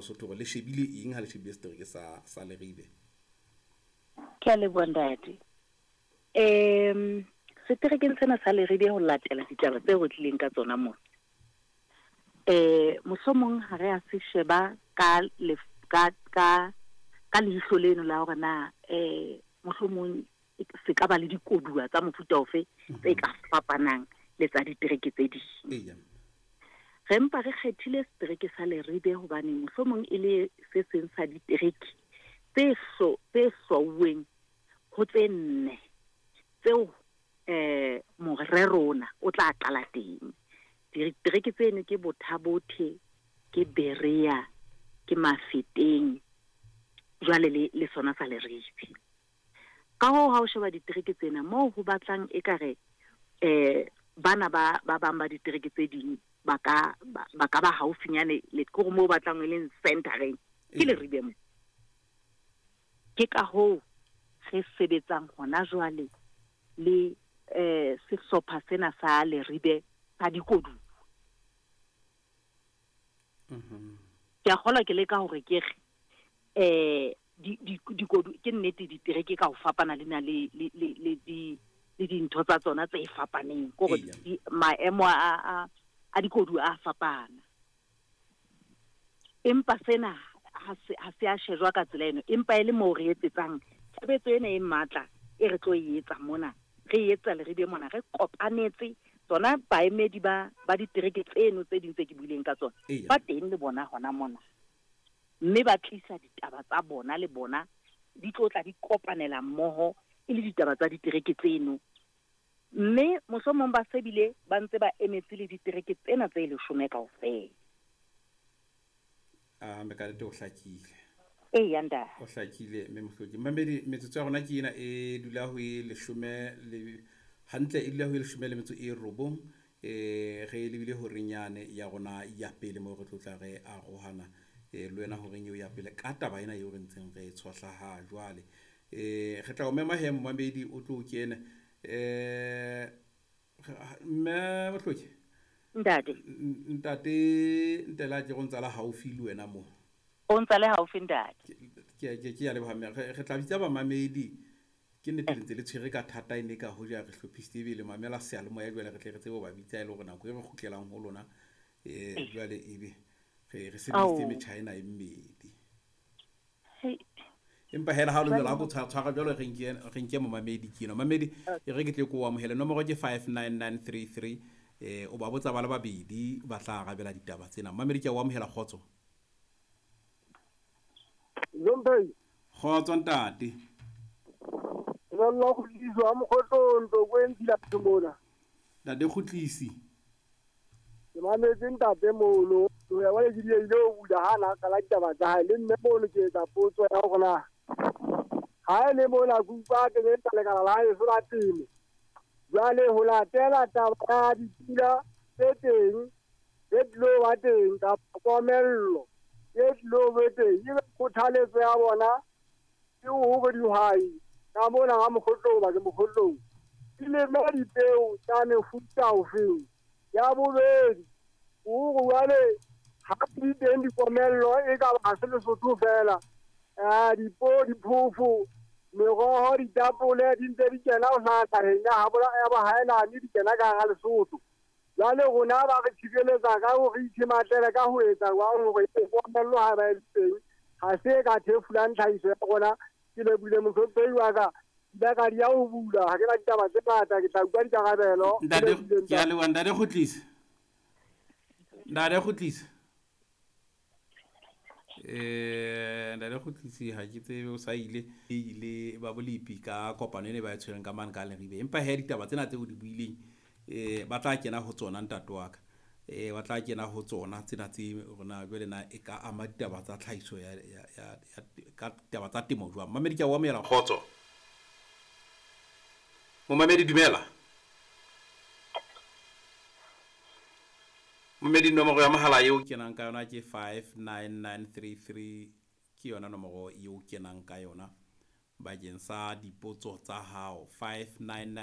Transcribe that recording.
Lesotho hore le shebile eng ha le shebile setereke sa Leribe? Ke a leboha ntate. Seterekeng sena sa Leribe ho latela ditaba tseo re tlileng ka tsona mona. Mohlomong ha re a se sheba ka ka ka ka leihlo leno la hore na mohlomong se ka ba le dikoduwa tsa mofuta ofe tse ka fapanang le tsa ditereke tse ding. Re mpa re kgethile setereke sa Leribe hobane mohlomong e le se seng sa ditereke tse hlwauweng ho tse nne tseo morero ona o tla qala teng. Ditereke tseno ke Botha-Bothe, ke Berea, ke Mafeteng, jwale le sona sa Leribe. Ka hoo ha o sheba ditereke tsena moo ho batlang ekare bana ba bang ba ditereke tse ding ba ka ba haufinyane le kore moo batlang e leng centereng ke Leribe mo. Ke ka hoo re sebetsang hona jwale le sehlopha sena sa Leribe sa dikoduwa. Ke a kgolwa ke leka hore ke re dikodu ke nnete ditereke ka ho fapana le na le dintho tsa tsona tse fapaneng kore maemo a dikodu a fapana. Empa sena ha se a shejwa ka tsela eno, empa e le moo re etsetsang tshebetso ena e matla e re tlo e etsa mona, re etsa Leribe mona, re kopanetse tsona baemedi ba ditereke tseno tse ding tse ke buileng ka tsona ba teng le bona hona mona, mme ba tlisa ditaba tsa bona le bona di tlo tla di kopanela mmoho e le ditaba tsa ditereke tseno, mme mohlomong ba sebile ba ntse ba emetse le ditereke tsena tse 10 kaofela. Me ka nnete o hlakile. Eya ntate. O hlakile mme Mohloki. Mamedi metsotso ya rona ke ena e dula ho e 10 le hantle e dula ho e 19 re lebile horeng yane ya rona ya pele moo re tlo tla re arohana le wena horeng eo ya pele ka taba ena eo re ntseng re tshohla ha jwale. Re tla o mema he momamedi o tlo kene. Mme Mohloki. Ntate. Ntate Ntela ke go ntsa la haufi le wena mo. O ntsa le haufi ntate. Ke ya leboha mme re tla bitsa bamamedi ke nnete le ntse le tshwere ka thata e ne ka hoja re hlophisitse ebile mamela seyalemoya jwale re tle re tsebe ho ba bitsa e le hore nako e re kgutlelang ho lona jwale ebe re sebedisitse metjha ena e mmedi. Empa hela ha o le jwalo ha ko tshwara jwalo re nke momamedi ke eno. Mamedi e re ke tle ko amohele nomoro ke 59933 o ba botsa ba le babedi ba tla arabela ditaba tsena. Mamedi ke a o amohela kgotso. Zombie. Kgotso ntate. Lollo kgutliso a mokgotlong Tlokwe ntila mona. Ntate Kgutlisi. Ke mametse ntate mono. O ya wale ke ile ho bula hana ka la ditaba tsa hae le mme mono ke etsa potso ya hore na ha e le mona ke utlwa ke etsa lekala la haeso la temo. Jwale ho latela taba ya dipula tse teng tse tlo ba teng kapa komello e tlo be teng, ebe kgothaletso ya bona ke hore dihwai ka mona ha mokgotlong ba ke mokgotlong di leme dipeo tsa mefuta ofeng. Ya bobedi hore jwale ha di teng dikomello e ka ba se Lesotho fela, dipo diphofo meroho ditapole di ntse di kena ho hlaha naheng ya bohaelane di kena ka hara Lesotho. Jwale rona ba re tshireletsa ka hore re ithematele ka ho etsa jwang hore komello ha ba e teng ha se ka thefulang tlhahiso ya rona. Ke lebohile mohlomphehi wa ka, ke ka di ya ho bula ha ke na ditaba tse ngata, ke tla utlwa dikarabelo. Ntate ke a leboha ntate Kgutlisi. Ntate Kgutlisi. Ntate Kgutlisi ha ke tsebe o sa ile ba bolepi ka kopano ene ba e tshwereng ka mane ka Leribe. Empa he ditaba tsena tseo di buileng ba tla kena ho tsona ntate wa ka. Ba tla kena ho tsona tsena tse rona jwale na e ka ama ditaba tsa tlhahiso ya ka ditaba tsa temo jwang. Mamedi ke a o amohela kgotso. Momamedi dumela. Momamedi nomoro ya mohala eo kenang ka yona ke 59933 ke yona nomoro eo kenang ka yona bakeng sa dipotso tsa hao 599.